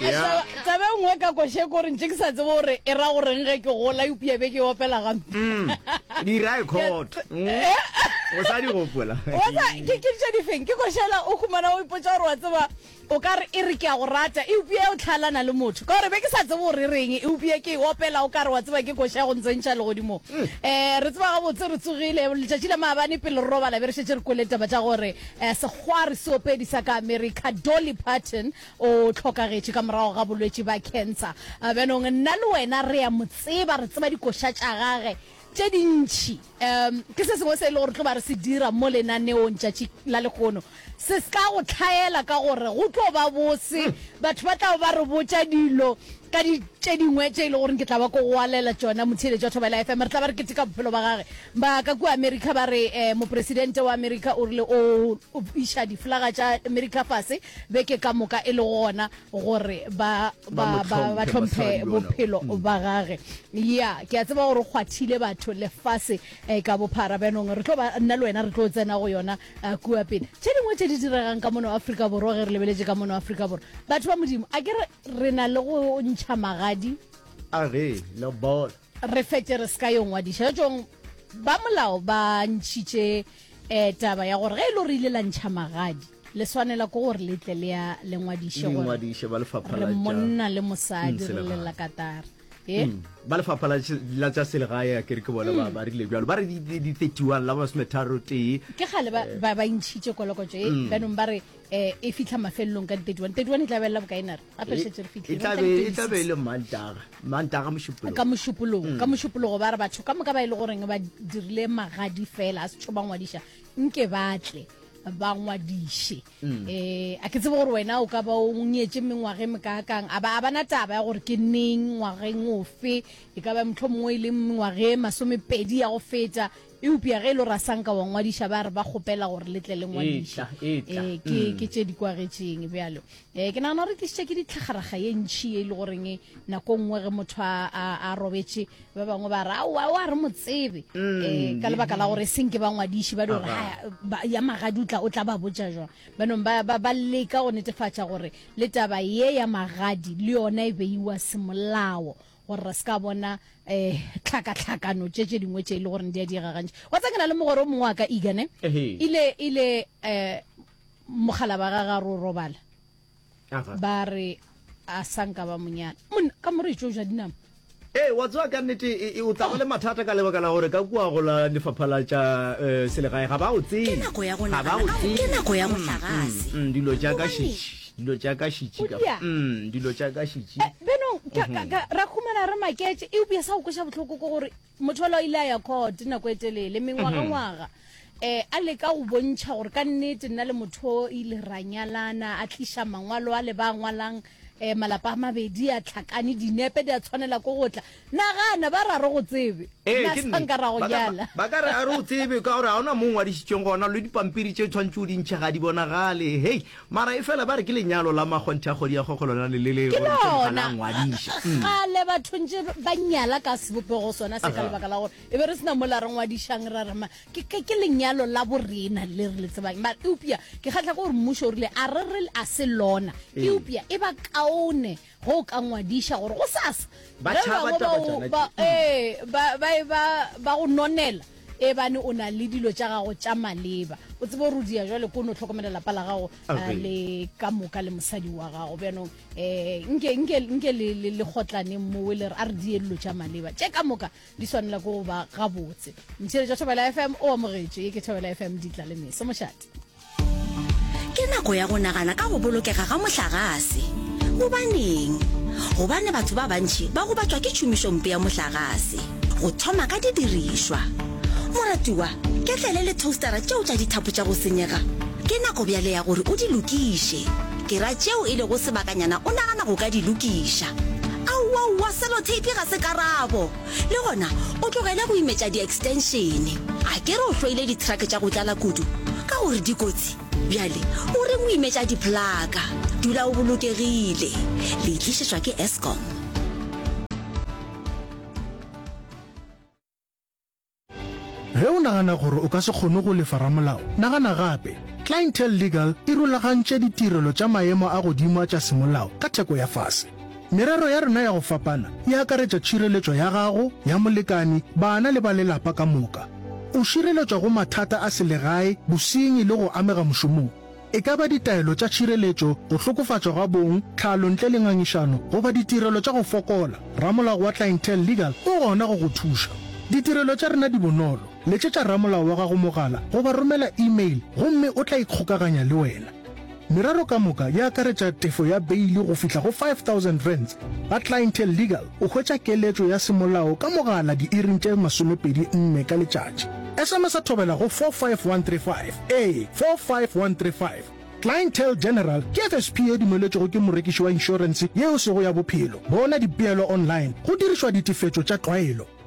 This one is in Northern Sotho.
Yeah. Taba e nngwe ka koše ke gore ntše ke sa tsebe gore e ra goreng ge ke gola eupša be ke e opela gampe. Mm. Dira e court. Mm. O sa di gopola. Wa tsa ke ke tše difeng ke košela o humana o ipotša gore wa tseba o ka re e re ke a go rata eupša o tlhalana le motho ka gore be ke sa tsebe gore e reng eupša ke e opela o ka re wa tseba ke koša ya go ntsentšha legodimong. Um re tseba gabotse re tsogile letšatši la maabane pele re robala be re šetše re kwele taba tša gore um sekgwari seopedi sa ka America Dolly Parton O hlokagetše ka morago ga bolwetši ba cancer. Bjanong nna le wena re a mo tseba, re tseba dikoša tša gage tše dintši. Um ke se sengwe se e le gore tlo ba re se dira mo lenaneong tšatši la lehono. Se se ka go hlaela ka gore go tlo ba bose, batho ba tla ba re botša dilo ka di tše dingwe tše e le gore ke tla ba ko go alela tšona motheeletši wa Thobela FM. Re tla ba re keteka bophelo ba gage. Ba ka kua Amerika ba re eh, mopresidente wa Amerika o rile o iša diflaga tša Amerika fase beke ka moka e le gona gore ba ba ba ba hlomphe bophelo ba gage. Ya, ke a tseba gore o kgwathile batho lefase eh, ka bophara. Bjanong re tlo ba nna le wena re tlo tsena go yona eh, kua pele. Tše dingwe tše di diregang ka mono Afrika Borwa ge re lebeletše ka mono Afrika Borwa. Batho ba Modimo, a ke re re na le go ntšha magadi A ge, lobola. re fetše re se ka yo ngwadiša. Tšong ba molao ba ntšhitše eh, taba ya gore ge e le gore ile la ntšha magadi le swanela ke gore le tle le ya le ngwadiše Le gore ngwadiše ba lefapha re la tša monna le mosadi Mm, re selegae. lela katara e Mm. ba lefapha la tše- la tša selegae a kere ke bona ba ba rile bjalo ba re di- di di 31 la masometharo tee ke kgale ba ba ba ntšhitše kolokotšo e bjanong ba re eh, e fitlha mafelelong ka di 31 31 e tla belela bokae nare gape re šetše re e fitlhile tla Re be tla e tla be e di le mantaga mantaga mošupologo ka mošupologo ka mošupologo ba re batho ka moka ba e le goreng ba dirile magadi fela a setšho ba ngwadiša nke ba tle ba ngwadiše um a ke tsebe gore wena o ka ba o nyetše mengwaga e mekaakang a ba a bana taba ya gore ke neng ngwageng ofe e ka ba motlho mongwe e le mengwaga e masomepedi ya go feta eupša ge e le gore a sanka wa ngwadiša ba re ba kgopela gore le tle le ngwadiše Etla, etla. Eh, ke ke tše di kwagetšeng bjalo um ke nagana gore tlišitše ke ditlhagaraga ye ntšhi ye e le goreng nako nngwe ge motho a, a, a robetše ba bangwe ba re aowa o a re mo tsebe um ka lebaka la gore seng ke ba ngwadiši ba di gore "Haya, ba- ya magadi o tla o tla ba botša jwang banong ba, ba, ba leka go netefatša gore le taba ye ya magadi le yona e beiwa semolao gore re se ka bona um tlhakatlhakano tše tše dingwe tše e le goreng di a diega gantši wa tseba ke na le mogwera o mongwe wa ka egane Ehe. ile ile um mogala ba gagwe a re o robala Aga. ba re a sanka ba monyana monna ka more etšo ja dinama Ee, wa tseba ka nnete e, e, o tla ba le mathata ka lebaka la gore ka kua go la lefapha la tša eh, selegae ga ba o Ke tsebe nako ya go ga ba nagana o ka go ke tsebe nako ya mohlagase. Mm, dilo tša ka Gobaneng? šitši dilo tša ka šitši O ka dia. mm, dilo tša ka šitši Eh, benong ka- ka- ka- ra humana re maketše eupša sa go kweša bohloko ke gore Motho yola o ile a ya court nako e telele, mengwagangwaga, um a leka go bontšha gore ka nnete nna le motho o ile ra nyalana, a tliša mangwalo a le ba ngwalang um malapa a mabedi a tlhakane, dinepe di a tshwanela ko go tla. Nagana, ba re a re go tsebe, Ee, nna ke sa nnete. nka ra go Ba ka- nyala. Ba ka re a re o tsebe ka gore ga ona mo o ngwadišitšweng gona, le dipampiri tše tshwanetše o di ntšhe ga di bonagale. Hei, Mara efela ba re ke lenyalo la makgonthe a kgodi ya kgokgo lona le le le Ke gore mohlomong ga lona. la ngwadiša. Kgale batho ntše ba nyala ka sebopego sona se ka lebaka la gore e be re se na mola re ngwadišang ra re ma ke ke ke lenyalo la borena le re le tsebang. Mara eupša ke kgahla ke gore mmušo o rile a re re a se lona eupša e ba kaone ge o ka ngwadiša gore go sasa Ba ge tšhaba bangwe ba taba o tšona ba tše. ee ba ba e ba ba go nonela e bane o na le dilo tša gago tša maleba o tsebe gore o dia jwale ko no hlokomela lapa la gago Abe. le ka moka le mosadi wa gago bjanong um nke nke nke le le le kgotlaneng mowe le re a re die dilo tša maleba tše ka moka di swanela ko go ba gabotse motšheletši wa Thobela FM o amogetšwe ye ke Thobela FM ditla le meso mošate Ke nako ya go nagana ka go bolokega ga mohlagase. Gobaneng? Gobane batho ba bantši ba gobatšwa ke tšhomišompe ya mohlagase, go thoma ka didirišwa. Moratiwa, ketlele le toastara tšeo tša dithapo tša go senyega, ke nako bjale ya gore o di lokiše. Ke ra tšeo e lego sebakanyana o nagana go ka di lokiša. Aowaowa, seloteipi ga se karabo! Le gona o tlogele go imetša di-extension. A ke re o hloile di-truck tša go tlala kudu ka gore di kotsi? Bjale o reng o imetša di-plaka? Dula o bolokegile. Le e tlišetšwa ke Eskom. Ge o nagana gore o ka se kgone go lefa ramolao, nagana gape. Clientele Legal e rulagantše ditirelo tša maemo a godimo a tša semolao ka theko ya fase. Merero ya rena ya go fapana e akaretša tšhireletšo ya gago, ya molekani, bana le ba lelapa ka moka. O šireletšwa go mathata a selegae, bosenyi le go amega mošomong. E ka ba ditaelo tša tšhireletšo, go hlokofatšwa ga bong, tlhalo ntle le ngangišano goba ditirelo tša go fokola, ramolao wa Clientele Legal o gona go go thuša. Ditirelo tša rena di bonolo, letšetša ramolao wa gago mogala goba romela email gomme o tla ikgokaganya le wena. Merero ka moka e akaretša tefo ya beili go fihla go R5000. Ga Clientele Legal o hwetša keletšo ya semolao ka mogala diiring tše 24 ka letšatši. SMS-a thobela go 45135. Ee, 45135. Clientele General ke FSP ye dumeletšwego ke morekiši wa inšorense ye e sego ya bophelo. Bona dipeelo online go dirišwa ditefetšo tša tlwaelo.